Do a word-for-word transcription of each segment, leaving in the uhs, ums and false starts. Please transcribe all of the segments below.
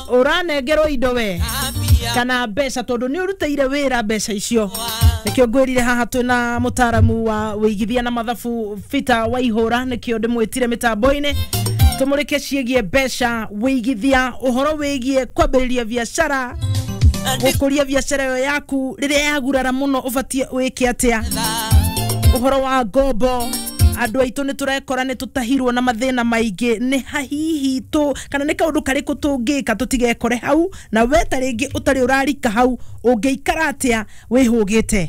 Ũranengerwo indo we kana mbeca tondũ nĩ ũrutĩire wĩra mbeca icio. Nĩkĩo ngwĩrire haha twĩna mũtaaramu wa wĩigithia na mathabu Peter Waihũra, nĩkĩo ndĩmwĩtire mĩtambo-inĩ tũmũrĩke ciĩgiĩ mbeca, wĩigithia, ũhoro wĩgiĩ kwambĩrĩria biacara, gũkũria biacara ĩyo yaku rĩrĩa yagurara mũno ũbatiĩ wĩke atĩa, ũhoro wa ngombo. Andũ aitũ nĩ tũrekora nĩ tũtahirwo na mathĩna maingĩ, nĩ hahihi tũ kana nĩ kaũndũ karĩkũ tũngĩka tũtigekore hau, na we ta rĩngĩ ũtarĩ ũrarika hau ũngĩikara atĩa wĩhũgĩte.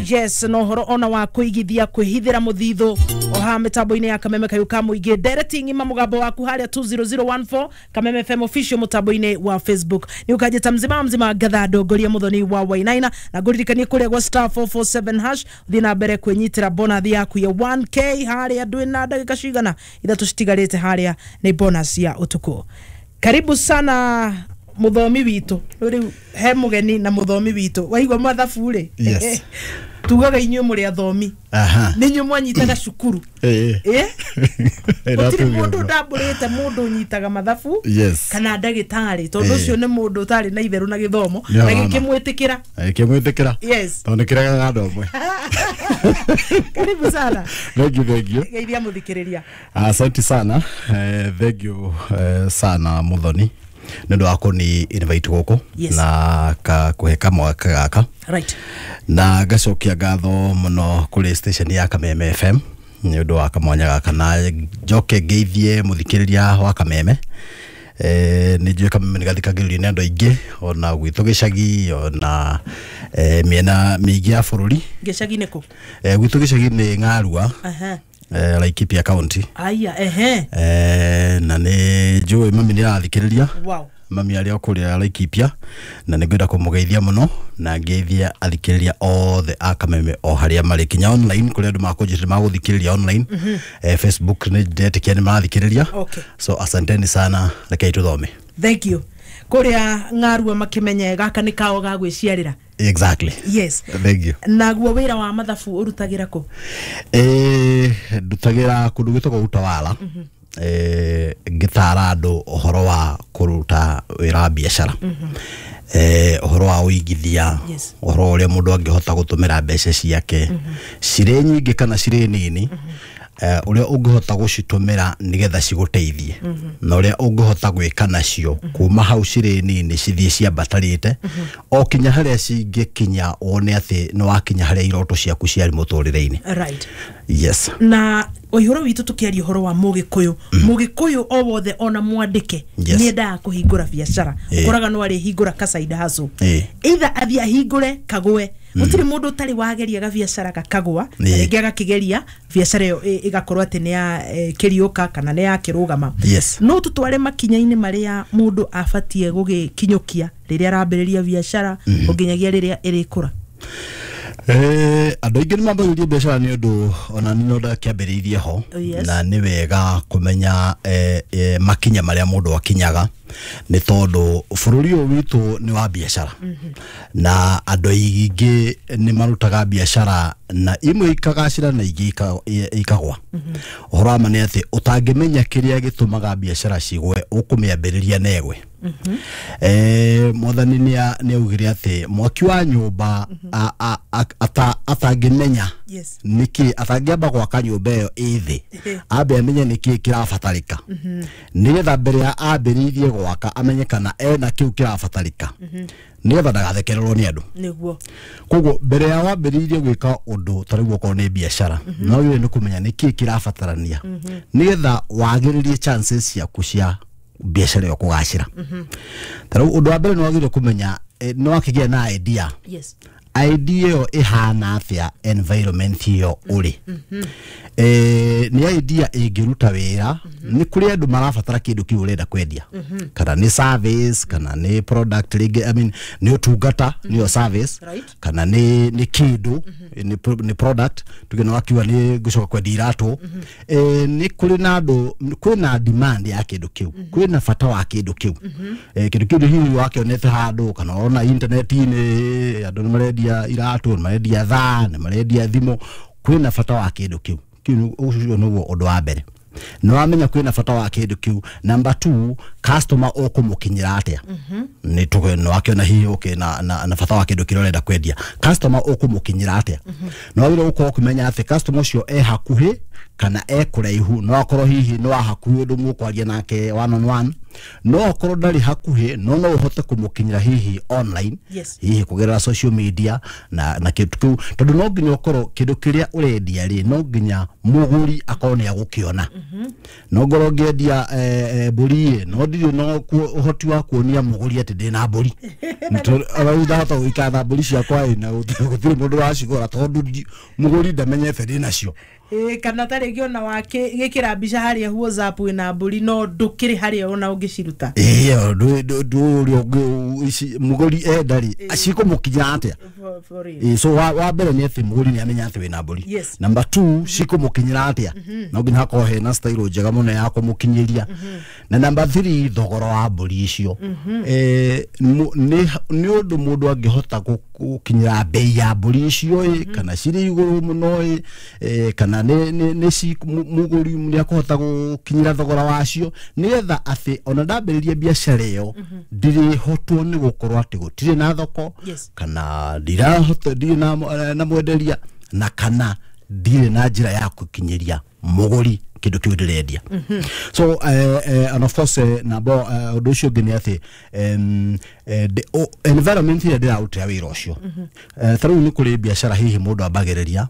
Yes, no horo ona wa kũigithia kwĩhithĩra mũthithũ o haha mĩtambo-inĩ ya Kameme Kayũ ka Mũingĩ. Ndereti ng'ima mũgambo waku harĩa two zero zero one four Kameme F M official mũtambo-inĩ wa Facebook. Nĩ ũkanjĩta mzima mzima ngatha ndongoria mũthoni wa Wainaina, na ngũririkanie kũrĩa gwa star four four seven hash ũthiĩ na mbere kwĩnyitĩra bonus yaku ya one K harĩa ndwĩ na ndagĩka cigana ithatũ citigarĩte harĩa nĩ bonus ya ũtukũ. Karibu sana mũthomi witũ. Rĩu he mũgeni na mũthomi witũ. Waigua mathabu rĩ? Yes. Tugaga inyuĩ mũrĩ athomi. Aha. Nĩ inyuĩ mwanyitaga cukuru. Eh. Eh? Gũtirĩ mũndũ ndambũrĩte mũndũ ũnyitaga mathabu. Yes. Kana ndagĩtarĩ, tondũ ũcio nĩ mũndũ ũtarĩ na itherũ na gĩthomo, Nĩ na ũrona. gĩkĩmwĩtĩkĩra. Gĩkĩmwĩtĩkĩra. Yes. Tondũ nĩkĩregaga andũ amwe. Karibu sana. Thank you, thank you. Geithia mũthikĩrĩria. Asante sana. Eh, thank you eh, sana Muthoni nĩ ũndũ wa kũni invite gũkũ. Yes. Na ka kũhe kamwaka gaka. Right. Na ngacokia ngatho mũno kũrĩ station ya Kameme F M nĩ ũndũ wa kamwanya gaka, na njoke ngeithie mũthikĩrĩria wa Kameme. Eh, nĩ njũĩ Kameme nĩ gathikagĩrĩrio nĩ andũ aingĩ ona gwitũ gĩcagi ona eh, mĩena mĩingĩ ya bũrũri. Gĩcagi nĩ kũ? Eh, gwitũ gĩcagi nĩ Ng'arua. Aha. Eh, Laikipia County. Aya, ehe. Eh, na nĩ njũĩ mami nĩ arathikĩrĩria. Wow. Mami arĩa o kũrĩa Laikipia, na nĩ ngwenda kũmũgeithia mũno na ngeithia athikĩrĩria othe a Kameme o harĩa marĩ, kinya online kũrĩa andũ makũnjĩtĩra magũthikĩrĩria online. Mm-hmm. Eh, Facebook nĩ ndetĩkia nĩ marathikĩrĩria. Okay. So asanteni sana, rekei tũthome. Thank you. Kũrĩa Ng'arua makĩmenye gaka nĩ kao ga gwĩciarĩra. Exactly. Yes. Thank you. Naguo wĩra wa mathabu ũrutagĩra kũ? Eh, ndutagĩra kũndũ gwĩtagwo Utawala. Mm-hmm. Eh, ngĩtara andũ ũhoro wa kũruta wĩra wa biacara. Mm-hmm. Eh, ũhoro wa ũigithia. Yes. Ũhoro ũrĩa mũndũ angĩhota gũtũmĩra mbeca ciake. Mm-hmm. Cirĩ nyingĩ kana cirĩ nini. Mm-hmm. Eh, ũrĩa ũngĩhota gũcitũmĩra nĩgetha cigũteithie. Mm-hmm. Na ũrĩa ũngĩhota gwĩka nacio mm-hmm. kuma hau cirĩ nini cithiĩ ciambatarĩte. Mm-hmm. O kinya harĩa cingĩkinya wone atĩ nĩ wakinya harĩa iroto ciaku ciarĩ mũtũrĩre-inĩ. Right. Yes. Na ũhoro witũ tũkĩaria ũhoro wa mũgĩkũyũ. Mũgĩkũyũ o wothe ona mwandĩke Yes. nĩendaga kũhingũra biacara. Eh. Ũkoraga no arĩhingũra ka side hustle. Eh. Either athiĩ ahingũre kagwe. Gũtirĩ mũndũ ũtarĩ wageria gabiacara gakagwa, na Eh. rĩngĩ agakĩgeria biacara ĩyo ĩ- ĩgakorwo atĩ nĩ ya eh, kĩriũka kana nĩ ya kĩrũgama. Yes. No tũtware makinya-inĩ marĩa mũndũ abatiĩ gũgĩkinyũkia rĩrĩa arambĩrĩria biacara nginyagia rĩrĩa ĩrĩkũra. Eh, andũ aingĩ nĩ mambagĩrĩria biacara nĩ ũndũ ona nĩ no ndakĩambĩrĩirie ho. Oh, yes. Na nĩ wega kũmenya, eh, eh, makinya marĩa mũndũ akinyaga, nĩ tondũ bũrũri ũyũ witũ nĩ wa biacara. Mm-hmm. Na andũ aingĩ nĩ marutaga biacara na imwe ikagacĩra na ingĩ ika-, i-, ikagwa. Mm-hmm. Ũhoro wa ma nĩ atĩ ũtangĩmenya kĩrĩa gĩtũmaga biacara cigwe ũkũmĩambĩrĩria na ĩgwe. Mm-hmm. Eh, mwathani nĩ a-, nĩ augire atĩ mwaki wa nyũmba Mm-hmm. a-, a-, a-, ata-, atangĩmenya Yes. nĩkĩ atangĩamba gwaka nyũmba ĩyo ĩ thĩ, Ehe. ambe amenye nĩkĩ kĩrabatarĩka. Mm-hmm. Nĩgetha mbere ya ambĩrĩirie gwaka amenye kana ena kĩu kĩrabatarĩka. Mm-hmm. Nĩgetha ndagathekererwo nĩ andũ. Nĩguo. Koguo mbere ya wambĩrĩirie gwĩka ũndũ ta rĩu okorwo nĩ biacara, Mm-hmm. no wagĩrĩirwo nĩ kũmenya nĩkĩ kĩrabatarania. Mm-hmm. Nĩgetha wagĩrĩrie chances ciaku cia biacara ĩyo kũgacĩra. Mm-hmm. Ta rĩu ũndũ wa mbere nĩ wagĩrĩirwo kũmenya, eh, nĩ wakĩgĩa na idea. Yes. Idea ĩyo ĩhana atĩa environment ĩyo ũrĩ. Mm-hmm. Eh, nĩ idea ĩngĩruta wĩra, Mm-hmm. nĩ kũrĩ andũ marabatara kĩndũ kĩu ũrenda kwendia. Mm-hmm. Kana nĩ service, kana nĩ product rĩngĩ, I mean, nĩ ũtungata, Mm-hmm. nĩyo service, Right. kana nĩ, nĩ kĩndũ, Mm-hmm. nĩ pro-, nĩ product, tuge nĩ wakiuga nĩ ngũcoka kwendia iratũ. Mm-hmm. Eh, nĩ kũrĩ na andũ, kwĩna demand ya kĩndũ kĩu, Mm-hmm. kwĩna bata wa kĩndũ kĩu. Mm-hmm. Eh, kĩndũ kĩu hihi wakĩonete handũ, kana ũrona internet-inĩ, andũ nĩ marendia iratũ, nĩ marendia thaa, nĩ marendia thimũ, kwĩna bata wa kĩndũ kĩu. Kĩu nĩ, ũcio nĩguo ũndũ wa mbere. Nĩ wamenya kwĩna bata wa kĩndũ kĩu. Number two, customer ũkũmũkinyĩra atĩa? Nĩ tuge nĩ wakĩona hihi okay na, na, na bata wa kĩndũ kĩrĩa ũrenda kwendia, customer ũkũmũkinyĩra atĩa? Nĩ wagĩrĩirwo gũkorwo ũkĩmenya atĩ customer ũcio e hakuhĩ kana e kũraihu. No akorwo hihi nĩ wa hakuhĩ ũndũ mũkwaria nake one on one, no akorwo ndarĩ hakuhĩ no no ũhote kũmũkinyĩra hihi online, Yes. hihi kũgerera social media na na kĩndũ kĩu, tondũ no nginya ũkorwo kĩndũ kĩrĩa ũrendia rĩ, no nginya mũgũri akorwo nĩ agũkĩona. No ngorwo ngĩendia eh, eh, mbũri ĩ, no ndirĩ no kuo- ũhoti wa kuonia mũgũri atĩ ndĩna mbũri. Rĩu ndahota gũikara na mbũri ciakwa ĩ, na gũtirĩ gũtirĩ mũndũ wacigũra tondũ ndi- mũgũri ndamenyete ndĩnacio. Ĩĩ, kana ta rĩngĩ ona wakĩgĩkĩra mbica harĩa WhatsApp wĩna mbũri no ndũkĩrĩ harĩa ona ũngĩciruta. Ĩĩ, ndũ ũrĩa ũngĩ ici mũgũri enda rĩ, cikũmũkinyĩra atĩa? For- for real. Ĩĩ, so wa, wa mbere nĩ atĩ mũgũri nĩ amenya atĩ wĩna mbũri. Yes. Number two, cikũmũkinyĩra atĩa? No nginya hakorwo hena style njega mũno ya kũmũkinyĩria. Na number three, thogora wa mbũri icio. Eh, mu- nĩ nĩ ũndũ mũndũ angĩhota gũ- gũkinyĩra mbei ya mbũri icio ĩ, kana cirĩ igũrũ mũno ĩ, eh, kana nĩ nĩ nĩ ci mu- mũgũri nĩ akũhota gũkinyĩra thogora wacio, nĩgetha atĩ ona ndambĩrĩria biacara ĩyo ndirĩhotwo nĩ gũkorwo atĩ gũtirĩ na thoko, Yes. kana ndirahota, ndirĩ na, na mwenderia, na kana ndirĩ na njĩra ya gũkinyĩria mũgũri kĩndũ kĩu ndĩrendia. So eh, eh, and of course, eh, nabo eh, ũndũ ũcio ũngĩ nĩ atĩ em, eh, ndĩ- o- environment ĩrĩa ndĩrarutĩra wĩra ũcio. Eh, ta rĩu nĩ kũrĩ biacara hihi mũndũ ambagĩrĩria,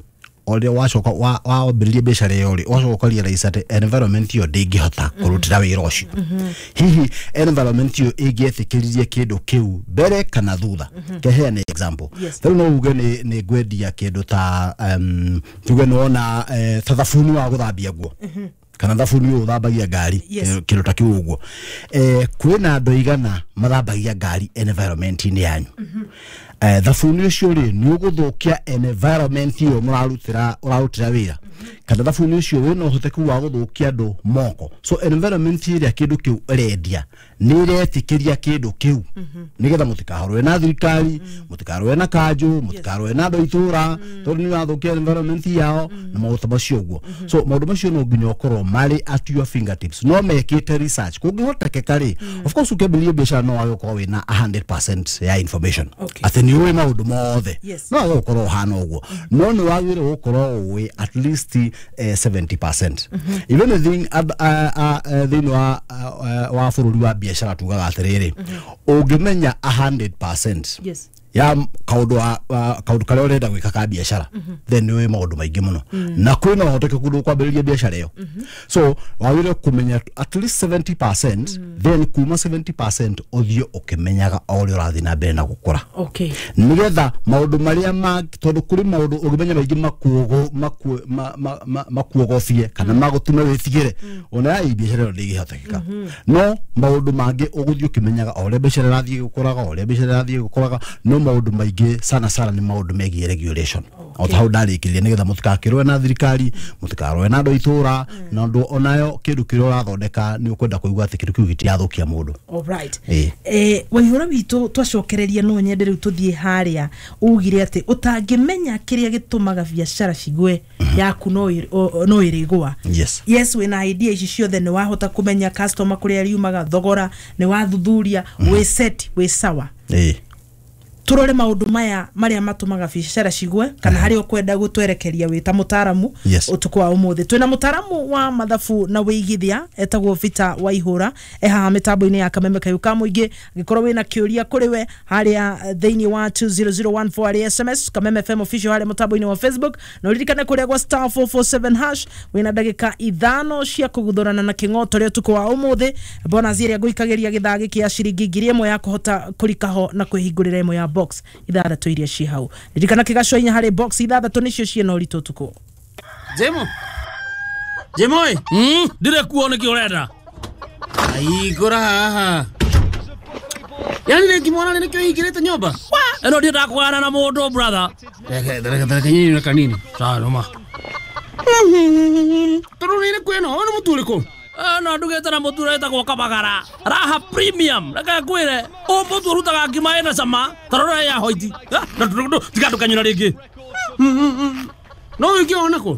ũrĩa wacoka wa- wambĩrĩria biacara ĩyo rĩ, ũgacoka ũkarealize atĩ environment ĩyo ndĩngĩhota kũrutĩra wĩra ũcio. Hihi environment ĩyo ĩngĩetĩkĩririe kĩndũ kĩu mbere kana thutha? Keheane example. Yes. Ta rĩu no uge nĩ nĩ ngwendia kĩndũ ta um, tuge nĩ wona eh, ta thabuni wa gũthambia nguo kana thabuni ũyũ ũthambagia ngari, Yes. kĩndũ kĩndũ ta kĩu ũguo. eh, kwĩna andũ aigana mathambagia ngari environment-inĩ yanyu? eh, thabuni ũcio rĩ, nĩ ũgũthũkia environment ĩyo mũrarutĩra ũrarutĩra wĩra, kana thabuni ũcio wĩna ũhoteku wa gũthũkia andũ moko? So environment ĩrĩa kĩndũ kĩu ĩrendia nĩ ĩretĩkĩria kĩndũ kĩu, nĩgetha mũtikarũe na thirikari, mũtikarũe na kanjũ, mũtikarũe na andũ a itũra, tondũ nĩ ũrathũkia environment yao na maũndũ ta macio ũguo. So maũndũ macio no nginya ũkorwo marĩ at your fingertips, no mekĩte research kũngĩhotekeka rĩ. Of course, ũkĩambĩrĩria biacara no wage gũkorwo wĩna one hundred percent ya information, Okay. atĩ nĩ ũĩ maũndũ mothe. Yes. No wage gũkorwo ũhana ũguo, no nĩ wagĩrĩirwo gũkorwo ũĩ at least eh, seventy percent. If anything, ad- a- a- a- thĩinĩ wa a- wa bũrũri wa biacara tugaga atĩrĩrĩ, ũngĩmenya one hundred percent Yes. ya kaũndũ wa- wa- kaũndũ karĩa ũrenda gwĩka ka biacara, then nĩ ũĩ maũndũ maingĩ mũno na kwĩna ũhotekeku ndũkwambĩrĩria biacara ĩyo. So wagĩrĩirwo kũmenya at least seventy percent, then kuma seventy percent ũthiĩ ũkĩmenyaga o ũrĩa ũrathiĩ na mbere na gũkũra, Okay. nigetha maũndũ marĩa ma tondũ kũrĩ maũndũ ũngĩmenya maingĩ makuogo maku- ma- ma- ma- makuogobie kana magũtũme wĩtigĩre ona ya biacara ĩyo ndĩngĩhotekeka. No maũndũ mangĩ ũgũthiĩ ũkĩmenyaga o ũrĩa biacara ĩrathiĩ gũkũraga, o ũrĩa biacara ĩrathiĩ gũkũraga. No maũndũ maingĩ sana sana nĩ maũndũ megiĩ regulation, o ta hau ndarĩkĩrĩria, nĩgetha mũtikakĩrũe na thirikari, mũtikarũe na andũ a itũra, na ũndũ onayo kĩndũ kĩrĩa ũrathondeka nĩ ũkwenda kũigua atĩ kĩndũ kĩu gĩtirathũkia mũndũ. Alright. Ĩĩ. Eh, Waihũra witũ, twacokereria no nyende rĩu tũthiĩ harĩa ugire atĩ ũtangĩmenya kĩrĩa gĩtũmaga biacara cigwe, yaku no ĩ- o- no ĩrĩgũa. Yes. Yes, wĩna idea ici ciothe, nĩ wahota kũmenya customer kũrĩa riumaga, thogora nĩ wathuthuria, wĩ set, wĩ sawa. Ĩĩ. Turore maũndũ maya marĩa matũmaga biacara cigwe, kana harĩa ũkwenda gũtwerekeria wĩ ta mũtaramu. Yes. Ũtukũ wa ũmũthĩ twĩna mũtaramu wa mathabu na wĩigithia etagwo Peter Waihũra, e haha mĩtambo-inĩ ya Kameme Kayũ ka Mũingĩ. Angĩkorwo wĩna kĩũria kũrĩ we harĩa eh, thĩinĩ wa two zero zero one four harĩa S M S, Kameme F M official harĩa mũtambo-inĩ wa Facebook, na ũririkane kũrĩa gwa star four four seven hash wĩna ndagĩka ithano cia kũguthũrana na kĩng'oto rĩa ũtukũ wa ũmũthĩ, bonus ĩrĩa ngũikagĩria gĩthaa gĩkĩ ya ciringi ngiri ĩmwe ya kũhota kũrika ho na kwĩhingũrĩra ĩmwe ya box ithathatũ iria ciĩ hau. Ririkana kĩgaco inya harĩ box ithathatũ nĩcio ciĩna ũritũ ũtukũ. Jemo. Jemo ĩ. Mm, ndire kuo nĩkĩ ũrenda? Ahingũra haha. Yani rĩngĩ mwana nĩkĩo hingĩrĩte nyũmba? Ĩno ndiendaga kũgana na mũndũ, brother. Reke reke reke nyinyi kanini. Sawa noma. Tondũ nĩ ĩrĩkũ ĩno? Ũyũ nĩ mũtu ũrĩkũ? Ĩno ndugĩte na mũtu ũretagwo Kabagara Raha Premium. Reke ngwĩre, ũyũ mũtu ũrutaga ngima ĩna cama ta rora ya hoiti. Tiga ndũkanyũra rĩngĩ. No wĩke ona kũ?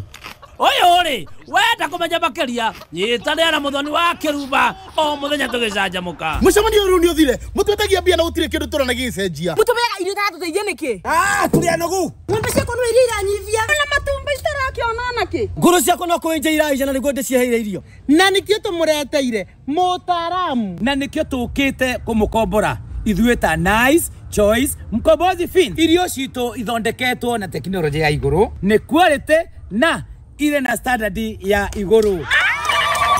Ũyũ rĩ, wenda kũmenya makĩria, nyitanĩra na Mũthoni wa Kĩrumba o mũthenya tũgĩcanjamũka. Mũcemanio ũyũ nĩ ũthire, mũtwetagia mbia na gũtirĩ kĩndũ tũrona gĩgĩcenjia. Mũtũmeaga irio itatũteithia nĩkĩ? Ah, tũrĩ anogu. Ng'ombe ciakwa no iria iranyivia. Na matumbĩ citarakĩona nakĩ? Ngũrũ ciakwa no kũenja iraija na nĩguo ndĩciheire irio. Na nĩkĩo tũmũreteire mũtaaramu. Na nĩkĩo tũkĩte kũmũkombora ithuĩ ta Nice Choice Mkombozi Fin. Irio citũ ithondeketwo na tekinoronjĩ ya igũrũ, nĩ quality na irĩ na standard ya igũrũ.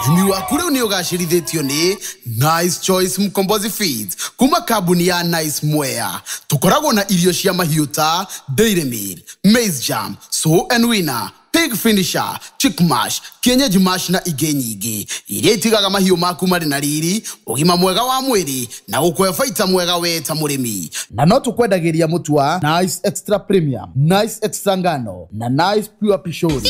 Ũrĩmi waku rĩu nĩ ũgacĩrithĩtio nĩ Nice Choice Mkombozi Feeds kuma kambuni ya Nice Mwea. Tũkoragwo na irio cia mahiũ ta Dairy Meal, Maize Jam, Sow and Winner, Pig Finisher, Chick Mash, Kienyeji Mash na ingĩ nyingĩ iria itigaga mahiũ maku marĩ na riri, ũgima mwega wa mwĩrĩ na gũkũhe baita mwega we ta mũrĩmi. Na no tũkwendagĩria mũtu wa Nice Extra Premium, Nice Extra Ngano na Nice Pure Pishori.